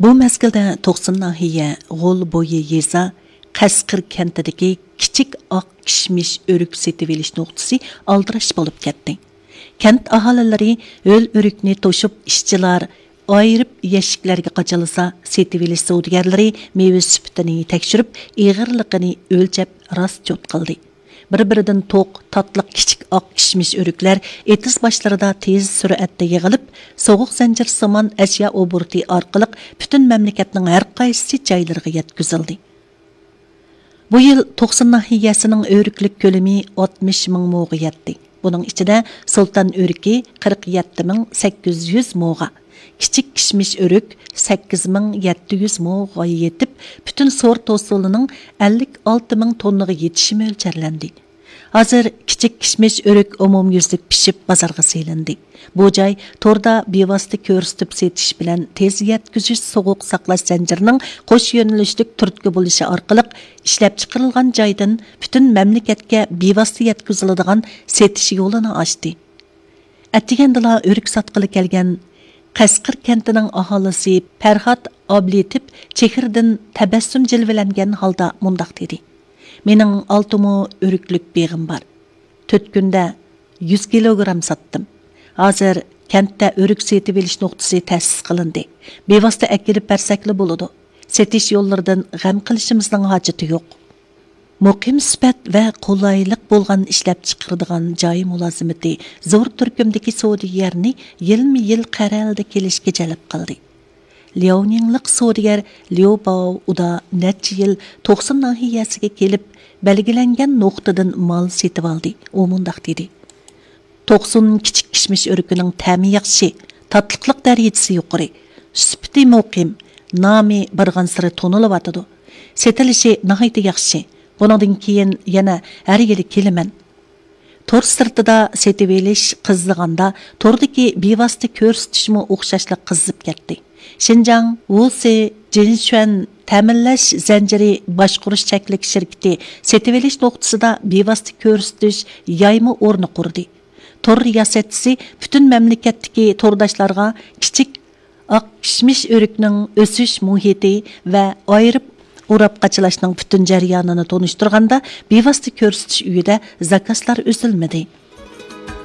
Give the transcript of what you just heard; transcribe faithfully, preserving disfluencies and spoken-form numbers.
بۇ مەزگىلدە توقسۇن ناھىيە غول بويى يېزا قەسقىر كەنتىدىكى كىچىك ئاق كىشمىش ئۆرۈك سېتىۋېلىش نۇقتىسى ئالدىراش بولۇپ كەتتى. كەنت ئاھالىلىرى ھۆل ئۆرۈكنى توشۇپ، ئىشچىلار ئايرىپ يەشىكلەرگە قاچىلىسا، سېتىۋېلىش سودىگەرلىرى مېۋە سۈپىتىنى تەكشۈرۈپ، ئېغىرلىقىنى ئۆلچەپ راست چوت قىلدى. بىر-بىرىدىن توق، تاتلىق كىچىك ئاق كىشمىش ئۆرۈكلەر ئېتىز باشلىرىدا تېز سۈرئەتتە يىغىلىپ، سوغۇق زەنجىرسىمان ئەشيا ئوبوروتى ئارقىلىق پۈتۈن مەملىكەتنىڭ ھەر قايسى جايلىرىغا يەتكۈزۈلدى. بۇ يىل توقسۇن ناھىيەسىنىڭ ئۆرۈكلۈك كۆلىمى ئاتمىش مىڭ موغا يەتتى. بۇنىڭ ئىچىدە سۇلتان ئۆرۈكى قىرىق يەتتە مىڭ سەككىز يۈز موغا، كىچىك كىشمىش ئۆرۈك سەككىز مىڭ يەتتە يۈز موغا يېتىپ، پۈتۈن سورت ھوسۇلىنىڭ ئەللىك ئالتە مىڭ توننىغا يېتىشى مۆلچەرلەندى. ھازىر كىچىك كىشمىش ئۆرۈك ئومۇميۈزلۈك پىشىپ بازارغا سېلىندى. بۇ جاي توردا بىۋاسىتە كۆرسىتىپ سېتىش بىلەن تېز يەتكۈزۈش سوغۇق ساقلاش زەنجىرىنىڭ قوش يۆنىلىشلىك تۈرتكە بولۇشى ئارقىلىق ئىشلەپچىقىرىلغان جايدىن پۈتۈن مەملىكەتكە بىۋاسىتە يەتكۈزۈلىدىغان سېتىش يولىنى ئاچتى. ئەتىگەندىلا ئۆرۈك ساتقىلى كەلگەن قەسقىر كەنتىنىڭ ئاھالىسى پەرھات ئابلىتىپ چېھرىدىن تەبەسسۇم جىلۋىلەنگەن ھالدا مۇنداق دېدى: «مېنىڭ ئالتە مو ئۆرۈكلۈك بېغىم بار. تۆت كۈندە يۈز كىلوگرام ساتتىم. ھازىر كەنتتە ئۆرۈك سېتىۋېلىش نۇقتىسى تەسىس قىلىندى. بىۋاسىتە ئەكېلىپ بەرسەكلا بولىدۇ. سېتىش يوللىرىدىن غەم قىلىشىمىزنىڭ ھاجىتى يوق.» مۇقىم سۈپەت ۋە قولايلىق بولغان ئىشلەپچىقىرىدىغان جاي مۇلازىمىتى زور تۈركۈمدىكى سودىگەرنى يىلمۇ يىل قەرەلدە كېلىشكە جەلپ قىلدى. لياۋنىڭلىق سودىگەر ليۇ باۋ ئۇدا نەچچە يىل توقسۇن ناھىيەسىگە كېلىپ، بەلگىلەنگەن نۇقتىدىن مال سېتىۋالدى. ئۇ مۇنداق دېدى: «توقسۇن كىچىك كىشمىش ئۆرۈكىنىڭ تەمى ياخشى، تاتلىقلىق دەرىجىسى يۇقىرى، سۈپىتى مۇقىم، نامى بارغانسېرى تونۇلۇۋاتىدۇ. سېتىلىشى ناھايىتى ياخشى. بۇنىڭدىن كېيىن يەنە ھەر يىلى كېلىمەن.» تور سىرتىدا سېتىۋېلىش قىزىغاندا، توردىكى بىۋاسىتە كۆرسىتىشمۇ ئوخشاشلا قىزىپ كەتتى. شىنجاڭ ۋۇسى جىنشۈەن تەمىنلەش زەنجىرى باشقۇرۇش چەكلىك شىركىتى سېتىۋېلىش نۇقتىسىدا بىۋاسىتە كۆرسىتىش يايما ئورنى قۇردى. تور رىياسەتچىسى پۈتۈن مەملىكەتتىكى تورداشلارغا كىچىك ئاق كىشمىش ئۆرۈكنىڭ ئۆسۈش مۇھىتى ۋە ئايرىپ ئوراپ قاچىلاشنىڭ پۈتۈن جەريانىنى تونۇشتۇرغاندا، بىۋاسىتە كۆرسىتىش ئۆيىدە زاكازلار ئۈزۈلمىدى.